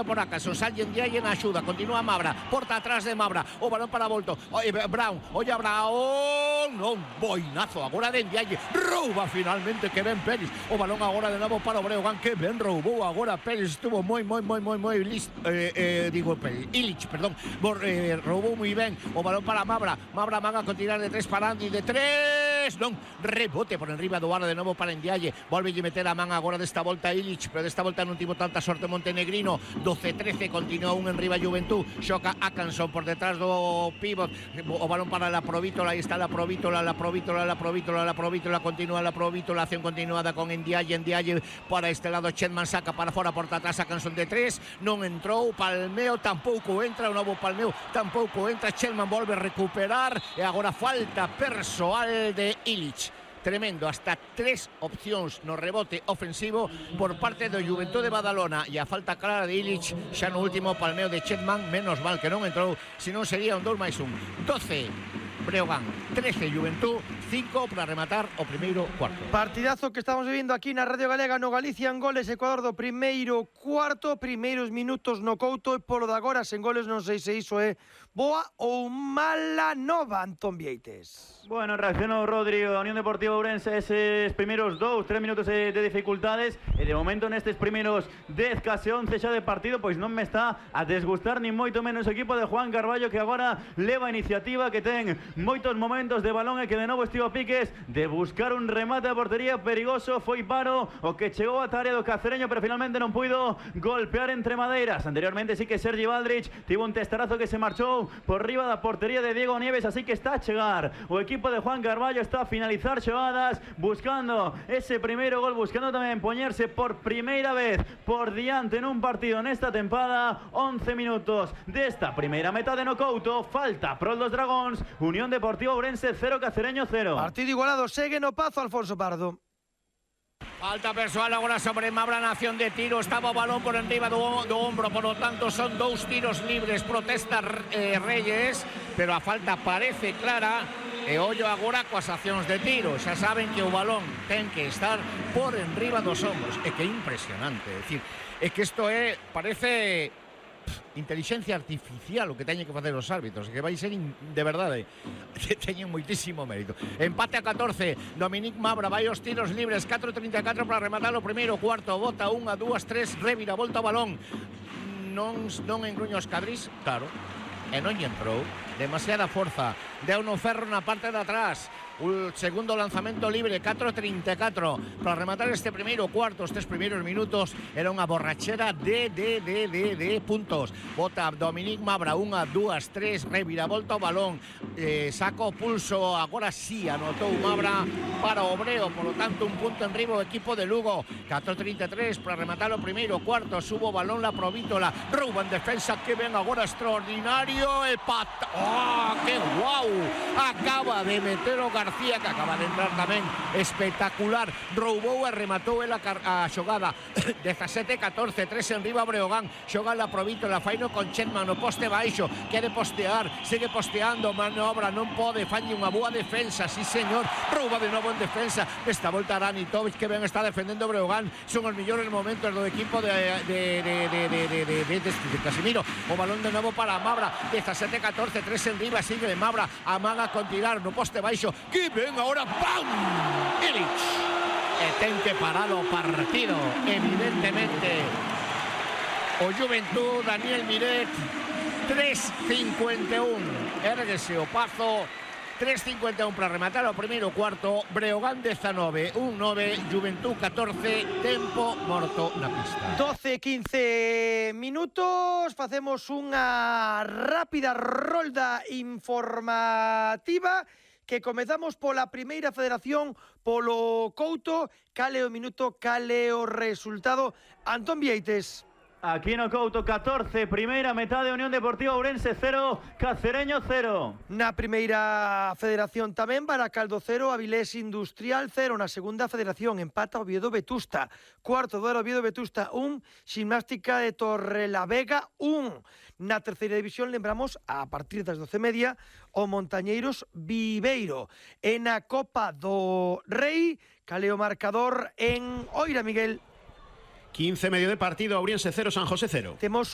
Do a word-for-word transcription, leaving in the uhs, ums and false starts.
por acá, Sonsal en día y en ayuda, continúa Mabra, porta atrás de Mabra, o balón para Volto, oye, Brown, oye Brown, no, boinazo, agora de Ndiaye, rouba finalmente que ben Pérez, o balón agora de novo para o Breogán, que ben roubou agora Pérez, estuvo moi, moi, moi, moi, moi listo, eh, eh, digo Pérez, Illich, perdón, Bor, eh, roubou moi ben, o balón para Mabra, Mabra manga con tirar de tres para Andy, de tres, non, rebote por enriba do área de novo para Ndiaye, volve a meter a man agora desta volta Illich, pero desta volta non tivo tanta sorte Montenegrino, doce trece, continúa un en riba Juventud, xoca Atkinson por detrás do pivot, o balón para la Provítola, aí está la Provítola, la Provítola, la Provítola, la Provítola, continúa la Provítola, acción continuada con Ndiaye, Ndiaye para este lado, Chetman saca para fora, porta atrás Atkinson de tres, non entrou, Palmeo tampouco entra, o novo Palmeo tampouco entra, Chetman volve a recuperar, e agora falta persoal de Illich. Tremendo, hasta tres opcións no rebote ofensivo por parte do Juventud de Badalona, e a falta clara de Illich xa no último Palmeo de Chetman, menos mal que non entrou, senón sería un dos máis un. doce Breogán, trece Juventud, cinco para rematar o primeiro cuarto. Partidazo que estamos vivindo aquí na Radio Galega no Galicia en goles, Ecuador do primeiro cuarto, primeiros minutos no Couto, e polo de agora sen goles non sei se iso é boa ou mala nova, Antón Vieites. Bueno, reaccionou Rodrigo da Unión Deportiva Ourense eses primeiros dous, tres minutos de, de dificultades, e de momento nestes primeiros dez, case once xa de partido, pois non me está a desgustar ni moito menos o equipo de Juan Carballo, que agora leva a iniciativa, que ten moitos momentos de balón e que de novo estivo a piques de buscar un remate a portería perigoso. Foi Paro o que chegou a área do Cacereño, pero finalmente non puido golpear entre madeiras. Anteriormente sí que Sergi Baldrich tivo un testarazo que se marchou por riba da portería de Diego Nieves, así que está a chegar o equipo de Juan Carballo, está a finalizar xogadas, buscando ese primeiro gol, buscando tamén poñerse por primeira vez por diante nun partido nesta tempada. Once minutos desta primeira metade no Couto, falta prol dos Dragóns. Unión Deportiva Ourense cero, Cacereño cero. Partido igualado, segue no Pazo Alfonso Pardo. Falta persoal agora sobre Mabra na acción de tiro, estaba o balón por enriba do, do ombro, por lo tanto son dous tiros libres, protesta eh, Reyes, pero a falta parece clara, e ollo agora coas accións de tiro, xa saben que o balón ten que estar por enriba dos ombros, é que é impresionante, é dicir, é que isto é, parece inteligencia artificial o que teñen que facer os árbitros, que vai ser in, de verdade que teñen moitísimo mérito. Empate a catorce, Dominic Mabra vai aos tiros libres, catro trinta e catro para rematar o primeiro cuarto, bota unha, dúas, tres, revira, volta o balón, non, non engruña os cadris, claro, e non lle entrou, demasiada forza, deu no ferro na parte de atrás. O segundo lanzamento libre, catro trinta e catro para rematar este primeiro cuarto. Estes primeiros minutos era unha borrachera de, de, de, de, de puntos. Bota Dominic Mabra, unha, dúas, tres, revira, volta o balón, eh, saca o pulso, agora sí anotou Mabra para o Obreo, por lo tanto un punto en riba o equipo de Lugo. Catro trinta e tres para rematar o primeiro cuarto, subo o balón la Provítola, rouba en defensa, que ven agora extraordinario, e pata, oh, que guau, acaba de meter o García, que acaba de entrar tamén espectacular, roubou e rematou a, a xogada. Dezasete catorce, tres en riba Breogán, xoga la Provítola, faino con Chetman no poste baixo, quere postear, segue posteando, manobra, non pode, falle unha boa defensa, sí señor, rouba de novo en defensa, esta volta Ranitovic, que ben está defendendo Breogán, son os millores momentos do equipo de, de, de, de, de, de, de, de, de, de Casimiro, o balón de novo para Mabra, dezasete catorce, tres en riba, sigue de Mabra, amaga con tirar no poste baixo, que ven agora, ¡pam! Illich, e ten que parar o partido, evidentemente o Juventud, Daniel Miret. Tres cincuenta e un, erguese o Pazo, tres cincuenta e un para rematar o primeiro cuarto. Breogán dezanove, un nove, Juventud catorce, tempo morto na pista. doce quince minutos, facemos unha rápida rolda informativa que comezamos pola primeira federación, polo Couto. Cale o minuto, cale o resultado, Antón Vieites. Aquí no Couto, catorce, primeira metade, Unión Deportiva Ourense cero, Cacereño cero. Na primeira federación tamén, Baracaldo cero, Avilés Industrial cero. Na segunda federación, empata Oviedo Vetusta. Cuarto duelo, Oviedo Vetusta un, Gimnástica de Torrelavega un. Na terceira división, lembramos, a partir das doce e media, o Montañeiros Viveiro. E na Copa do Rei, cale o marcador en Oira, Miguel. quince medio de partido, Ourense cero, San José cero. Temos